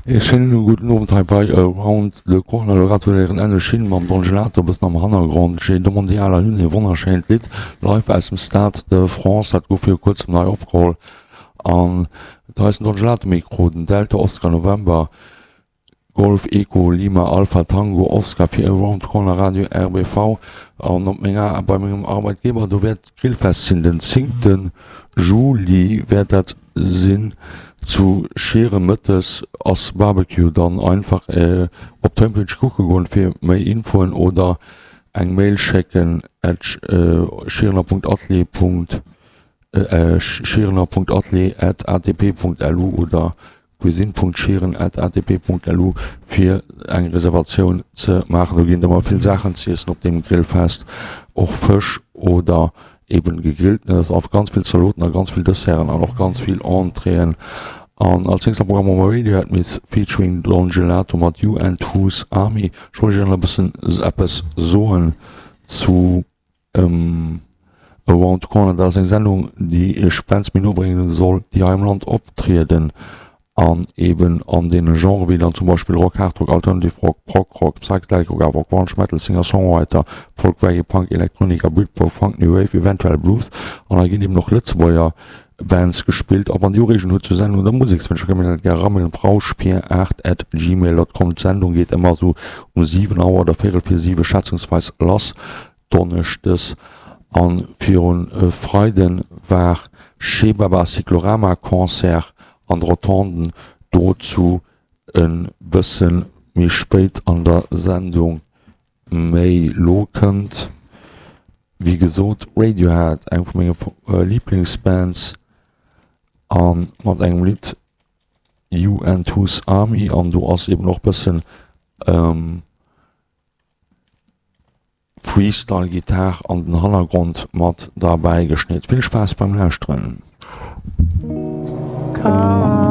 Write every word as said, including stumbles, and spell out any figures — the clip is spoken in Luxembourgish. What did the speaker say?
Ee schéinen gudden Owend hei bei Around the Corner. Elo grad huet Ären Änne Schinn mam Don Gelato e bëssen am Hannergrond J'ai demandé à la lune, e wonnerschéint Lidd live aus dem Stade de France. Dat gouf viru kuerzem nei opgeholl an do eisen Don Gelato Mikro, den Delta Oscar November Golf Echo Lima Alpha Tango Oscar fir Around the Corner Radio R B V. An op menger bei mengem Arbeitgeber, do wäert Grillfest sinn, den zéngte Juli wäert dat sinn zu Schieren. Mëttes ass Barbecue. Dann einfach op d'Homepage kucke goen fir méi Infoen oder eng Mail schécken at schierener Punkt atelier schierener Punkt atelier at atp Punkt lu oder cuisine Punkt schieren at atp Punkt lu fir eng Reservatioun ze maachen. Do ginn et ëmmer vill Saachen z'iessen op deem Grillfest, och Fësch oder eben gegrillten. Et ass einfach ganz vill Zaloten a ganz vill Desserten an och ganz vill Entréeën. An als nächst am Programm hu mer Radiohead Miss featuring Don Gelato mat You and Whose Army. Ech wollt iech nach e bëssen eppes soen zu Around the Corner. Dat ass eng Sendung, déi iech Bands méi no bréngen soll, déi hei am Land optrieden an eben an deene Genrë wéi dann zum Beispill Rock, Hardrock, Alternative Rock, Prog Rock, Psychedelic Rock, awer och Grunge, Metal, Singer-Songwriter, Folk, Reggae, Punk, Elektronik a Britpop, Funk, New Wave, eventuell Blues. An hei ginn eben och Lëtzebuerger Bands gespillt. A wann Dir Ureegungen hutt zur Sendung oder Musekswënsch, da kënnt mir dat gär eramailen op rauschpier aacht at gmail dot com. D'Sendung geet ëmmer esou um siwen Auer oder véierel vir siwe schätzungsweis lass donneschdes. An virun e Freiden war Chebaba Cyclorama Concert an de Rotonden, dozou e bësse méi spéit an der Sendung méi. Lo kënnt wéi gesot Radiohead, eng vu menge Liblingsbands, a mat engem Lidd You and Whose Army, an do ass eben och bëssen Freestyle-Gittar an den Hannergrond mat derbäi geschnit. Vill Spaass beim Lauschteren. Come.